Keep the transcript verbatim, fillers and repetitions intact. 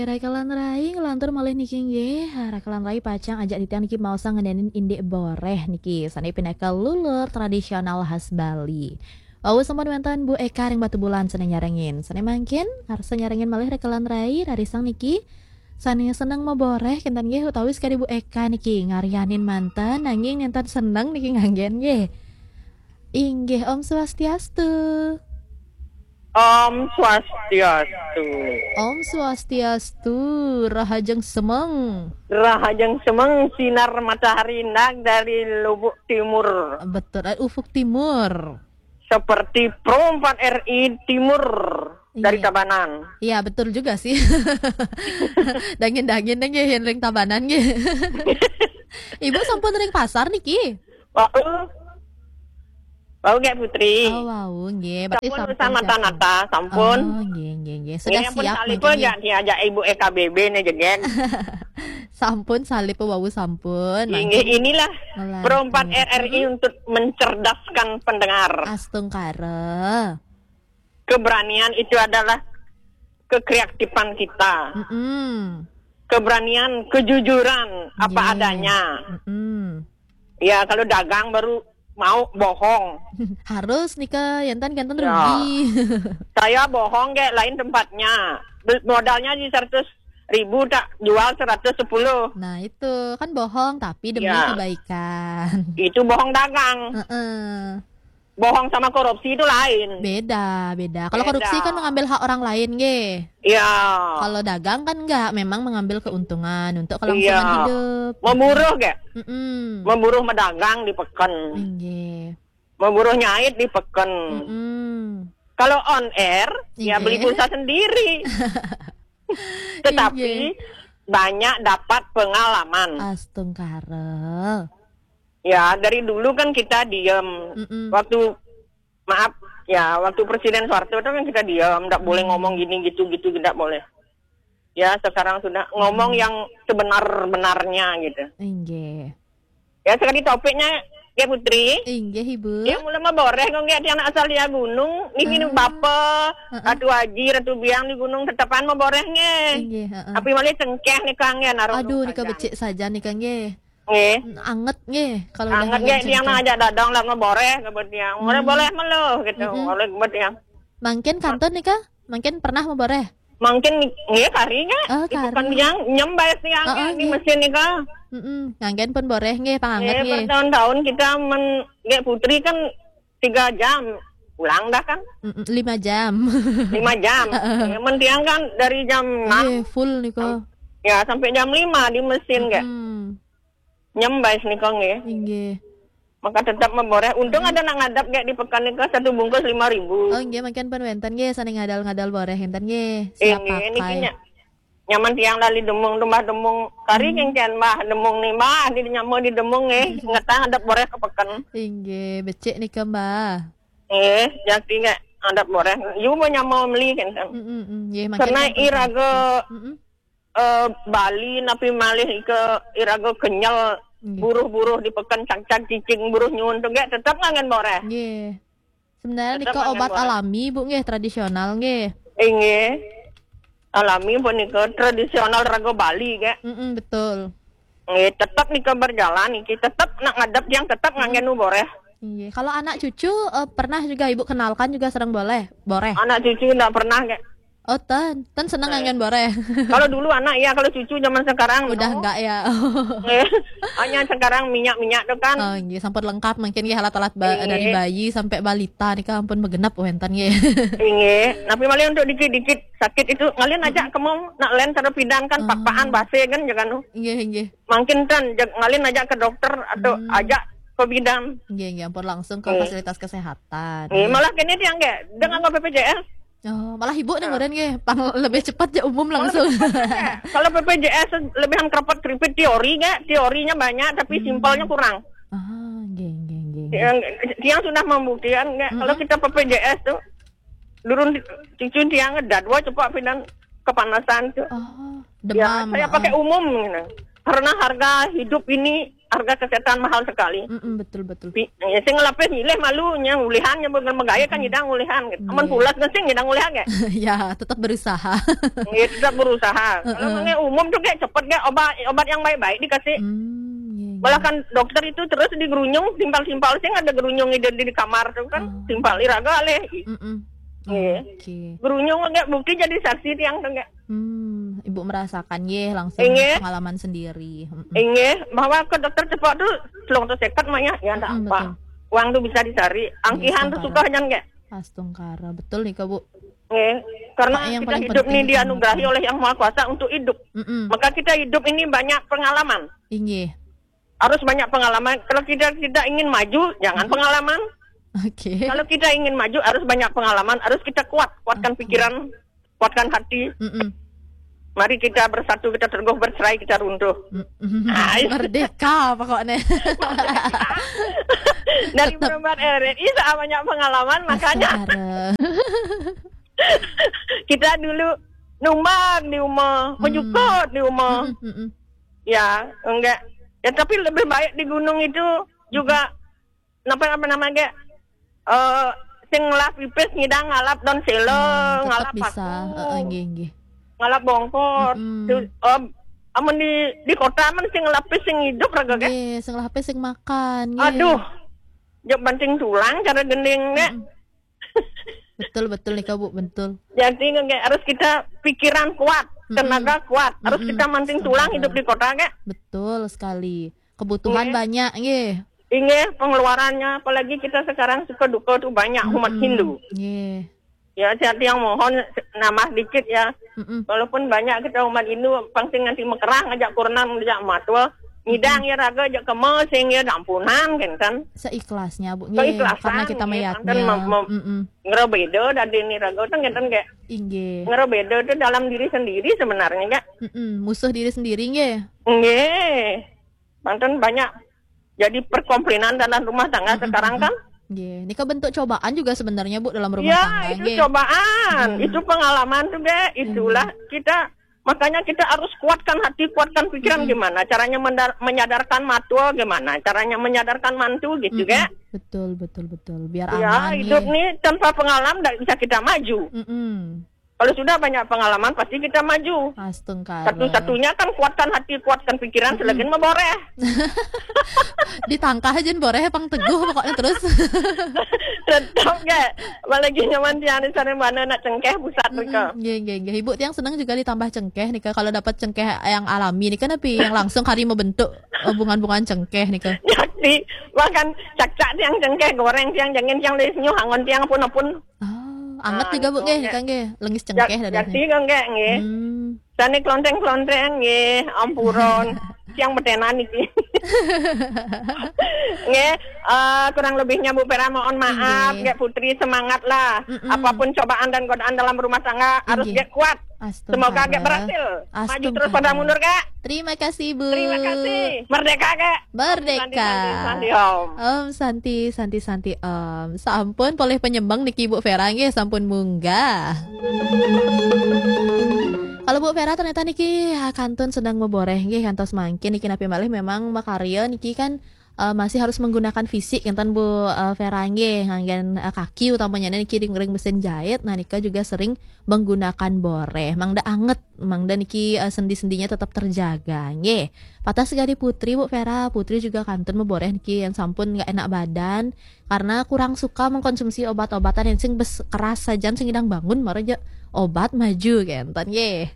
Rakelan rai ngelantur malih niki nggih. Rakelan rai pacang ajak titiang niki maosang ngenenin indik boreh niki. Sane pinaka lulur tradisional khas Bali. Wau sampun wenten Bu Eka ring Batubulan sane nyarengin. Sane mangkin arsa nyarengin malih rakelan rai rarisang niki. Sane seneng maboreh kinten nggih utawi sekadi Bu Eka niki ngaryanin manten nanging nenten seneng niki nganggen nggih. Inggih, Om Swastiastu. Om Swastiastu. Om Swastiastu, rahajeng semeng. Rahajeng semeng, sinar matahari nag dari Lubuk Timur. Betul, eh, ufuk timur. Seperti Pro empat R I Timur dari Iya. Tabanan. Iya, betul juga sih. Dangin-dangin nggih yen ring Tabanan nggih. Ibu sampun ring pasar niki? Wau. Wau nggih Putri. Oh, wau nggih. Berarti Sampun sampun usaha siap. Mata-nata, sampun. Oh, nggih, nggih, nggih. Sudah Ini ampun siap salib mungkin aja nggih. Diajak Ibu E K B B nih jegen. Sampun salib wau sampun. Inggih, Mangkin inilah Melantur. Pro empat R R I Hmm. untuk mencerdaskan pendengar. Astungkara. Keberanian itu adalah kekreatifan kita. Mm-mm. Keberanian, kejujuran, apa Nggih. Adanya. Mm-mm. Ya, kalau dagang baru mau bohong. Harus nika, enten-enten Ya. Rugi. Saya bohong kayak lain tempatnya. Bel-, modalnya di seratus ribu, tak jual seratus sepuluh. Nah, itu kan bohong tapi demi Ya. Kebaikan. Itu bohong dagang. Heeh. Bohong sama korupsi itu lain. Beda, beda. Kalau Beda. Korupsi kan mengambil hak orang lain, nggih. Iya. Kalau dagang kan enggak, memang mengambil keuntungan untuk kelangsungan Iya. Hidup. Memburuh, gak? Mm-mm. Memburuh medagang di peken. Nggih. Memburuh nyait di peken. Mm-mm. Kalau on air, ya Nggih. Beli pulsa sendiri. Tetapi Nggih. Banyak dapat pengalaman. Astungkara. Ya, dari dulu kan kita diem. Mm-mm. Waktu, maaf, ya, waktu Presiden Soeharto itu kan kita diem, ndak boleh Hmm. ngomong gini gitu gitu, tidak boleh. Ya, sekarang sudah ngomong Hmm. yang sebenar-benarnya gitu. Inggih. Ya, sekali topiknya, ya Putri. Inggih, Ibu. Dia mula maboreh kok nggih, tiang asal dia gunung, niki Ah. Bapa, Heeh. Ratu Aji, Ratu Biang di gunung tetepan maboreh nggih. Inggih, heeh. Tapi malih cengkeh nika nggih, naruh Aduh, nika saja. Becik saja nika nggih. Nggih. Anget nggih, kalau udah Anget nggih, tiang cengkeh. Ajak dadang lah ngeboreh ke tiang. Boleh, Hmm. Boleh melo gitu. Mm-mm. Boleh ke tiang. Mangkin kantun nika? Mangkin pernah maboreh? Mangkin nggih kari nggih. Oh, di kari. Bukan tiang nyembai tiang Heeh, nggih, di nggih. Mesin nika. Mm-mm. Nganggen pun boreh nggih, panganget Nggih, nggih. Bertahun-tahun kita men-, nggih Putri kan tiga jam pulang dah kan. Mm-mm, lima jam. Lima jam. Heeh. Ya, men tiang kan dari jam enam. Nggih, full nika. Sam-, ya, sampai jam lima di mesin nggih. Mm-mm. Nyembai nika nggih. Inggih. Maka tetap maboreh. Untung Hmm. Ada nak ngadap nggih di pekan nika satu bungkus lima ribu. Oh, inggih, mangkin pun wenten nggih, sane ngadal-ngadal boreh enten nggih. Siap Inggih, niki pakai. Nya-, nyaman tiang lali demung, tumbah demung. Kari Hmm. Kengken, Mbah, demung ni, Mbah, di nyama di demung nggih. Ngetah ngadap boreh ke peken. Inggih, becik nika, Mbah. Nggih, jati nggih ngadap boreh. Yu mau nyama meli kan. Mm, mm, mm. Nggih, mangkin Karena kan iraga Mm-mm. Eh, Bali napi malih ika iraga kenyel Nggih. Buruh-buruh di peken cangcang cicing buruh nyuun tu gek tetap ngangen boreh. Nggih. Sebenarnya Tetap nika ngangen obat boreh. Alami, Bu, nggih, tradisional nggih. Inggih. Alami pun nika tradisional raga Bali gek. Mm-mm, betul. Nggih, tetap nika berjalan niki tetap nak ngadep yang tetap Mm-mm. Ngangen nu boreh. Nggih. Kalau anak cucu, eh, pernah juga Ibu kenalkan juga sering boleh? Boreh. Anak cucu ndak pernah gek. Oh, ten, ten seneng Eh. Ngangen boreh. Kalau dulu anak ya, kalau cucu zaman sekarang Udah no. Enggak ya. Eh, hanya sekarang minyak-minyak tu kan. Oh, nggih, sampun lengkap mungkin nggih alat-alat ba- Nggih. Dari bayi sampai balita nika ampun begenap wenten nggih. Inggih. Tapi malih untuk dikit-dikit sakit itu ngalih aja kemong nak len cara pidan kan Oh. Pakpaan base kan jangan tu. Nggih, nggih. Mungkin kan jag- ngalih aja ke dokter atau Hmm. Aja ke bidan. Nggih, nggih, ampun langsung ke Nggih. Fasilitas kesehatan. Nggih, Nggih. Malah kini tiang nggih, dengan Hmm. P P J S. Oh, malah ibu nih Nah. Meren nggih, pang lebih cepat ya umum Malah langsung. Cepat aja. Kalau P P J S lebihan kerepet keripit teori nggak, teorinya banyak tapi Hmm. Simpelnya kurang. Ah, nggih, nggih, nggih, nggih. Yang, yang sudah membuktikan nggak, Mm-mm. Kalau kita P P J S tuh, durun cucu tiang dadwa cepat pindah kepanasan tuh. Oh, Ya, demam, saya ah. Pakai umum gitu. Karena harga hidup ini harga kesehatan mahal sekali. Mm-mm, betul, betul. Pi-, ya, sing ngelapis nyilih malu, nya ulihan, nya bukan megaya kan nyidang ulihan gitu. Amun pulas kan sing nyidang ulihan ya. Ya, tetap berusaha. Ya, tetap berusaha. Kalau umum tuh kayak cepet kayak obat, obat yang baik-baik dikasih. Hmm, iya, iya. Malah kan dokter itu terus di gerunjung, timpal-timpal sing ada gerunjung di, di kamar tuh kan, timpal iraga leh. Mm-mm. Iya. Oke. Gerunjung kayak bukti jadi saksi tiang tuh kayak. Hmm, ibu merasakan, ye, langsung pengalaman sendiri. Mm-mm. Inggih, bahwa ke dokter cepok tuh selung tuh sekat maknya, ya ndak apa. Betul. Uang tuh bisa dicari. Angkihan tuh suka jangan kayak. Astungkara, betul nih, Kak, Bu. Nggih, karena kita hidup ini dianugerahi oleh Yang Maha Kuasa untuk hidup. Mm-mm. Maka kita hidup ini banyak pengalaman. Inggih. Harus banyak pengalaman. Kalau kita tidak ingin maju, jangan pengalaman. Oke. Kalau kita ingin maju, harus banyak pengalaman, harus kita kuat, kuatkan pikiran, kuatkan hati. Mm-mm. Mari kita bersatu, kita teguh, bercerai, kita runtuh. Mm-mm. Merdeka pokoknya. Dari Tetep. Berempat R R I saya banyak pengalaman, makanya. Astagfirullah. Kita dulu numbang di rumah, menyukut di rumah. Mm-mm, mm-mm. Ya, enggak. Ya, tapi lebih baik di gunung itu juga, apa, apa namanya, eh, sing ngelah pipis ngidang ngalap daun selo, hmm, tetap ngalap bisa. Paku. Heeh, nggih, nggih. Ngalap bongkot. Mm-mm. Terus, em, amun di, di kota men sing ngelah pipis sing hidup raga, kan? Nggih, sing ngelah pipis sing makan, nggih. Aduh. Jok banting tulang cara gending, nek. Mm-mm. Betul, betul nih, Kak, Bu, betul. Jadi, nggak harus kita pikiran kuat, mm-mm, tenaga kuat, harus kita manting tulang hidup di kota, nggak? Betul sekali. Kebutuhan banyak, nggih. Inggih, pengeluarannya, apalagi kita sekarang suka duka tuh banyak umat Hindu. Nggih. Ya, saya yang mohon nambah dikit ya. Mm-mm. Walaupun banyak kita umat Hindu, pang sing nganti mekerah ngajak kurna, ngajak matua, ngidang ya raga, ajak kema, sing ya ampunan, kan, kan. Seikhlasnya, Bu. Nggih, karena kita meyaknya. Ngerobeda dari ini raga, kan, kan, kayak. Inggih. Ngerobeda itu dalam diri sendiri sebenarnya, Kak. Mm-mm, musuh diri sendiri, nggih. Nggih. Banten banyak jadi perkomplinan dalam rumah tangga sekarang, kan? Nggih, nika bentuk cobaan juga sebenarnya, Bu, dalam rumah tangga, nggih. Ya, itu cobaan, itu pengalaman juga. Itulah kita, makanya kita harus kuatkan hati, kuatkan pikiran. Gimana caranya mendar-, menyadarkan matua, gimana caranya menyadarkan mantu gitu, nggih. Betul, betul, betul. Biar aman, nggih. Ya, hidup nih tanpa pengalaman ndak bisa kita maju. Mm-mm. Kalau sudah banyak pengalaman, pasti kita maju. Astungkara. Satu-satunya kan kuatkan hati, kuatkan pikiran, selagi meboreh. Ditangkah aja boreh, pang teguh pokoknya terus. Tetap, nggak. Apalagi nyaman tiang di sana mana nak cengkeh, pusat mereka. Mm-mm. Nggih, nggih, nggih. Ibu tiang seneng juga ditambah cengkeh nih, Kak. Kalau dapat cengkeh yang alami nih, kan, tapi yang langsung kari membentuk, eh, bungan-bungan cengkeh nih, Kak. Jadi, makan cakcak tiang cengkeh, goreng tiang, jangin tiang, leh senyum, hangon tiang, apun-apun. Ah, anget juga, Bu, nggih, nika nggih. Lengis cengkeh dadahnya. Jadi, nggih, nggih. Hmm. Sane klonteng-klonteng, nggih, ampuron. Tiang betenan iki. Nggih, eh, kurang lebihnya Bu Vera mohon maaf, nggih. Nggih, Putri, semangat lah. Mm-mm. Apapun cobaan dan godaan dalam rumah tangga, harus nggih. Nggih kuat. Astungkara. Semoga nggih berhasil. Maju terus, pantang mundur, Kak. Terima kasih, Bu. Terima kasih. Merdeka, Kak. Merdeka. Santi, santi, santi, Om. Om Santi, Santi, Santi, Om. Sampun polih penyembang niki, Bu Vera, nggih, sampun munggah. Kalau Bu Vera ternyata niki, ah, kantun sedang meboreh, nggih, kantos mangkin niki napi malih memang makarya niki kan, eh, masih harus menggunakan fisik, enten, Bu, eh, Vera, nggih, nganggen, eh, kaki utamanya niki ring, ring mesin jahit, nah, nika juga sering menggunakan boreh. Mangda anget, mangda niki, eh, sendi-sendinya tetap terjaga, nggih. Patah segadi Putri, Bu Vera, Putri juga kantun meboreh niki yang sampun nggak enak badan karena kurang suka mengkonsumsi obat-obatan yang sing bes keras sajan sing idang bangun, mara aja obat maju, kenten, nggih.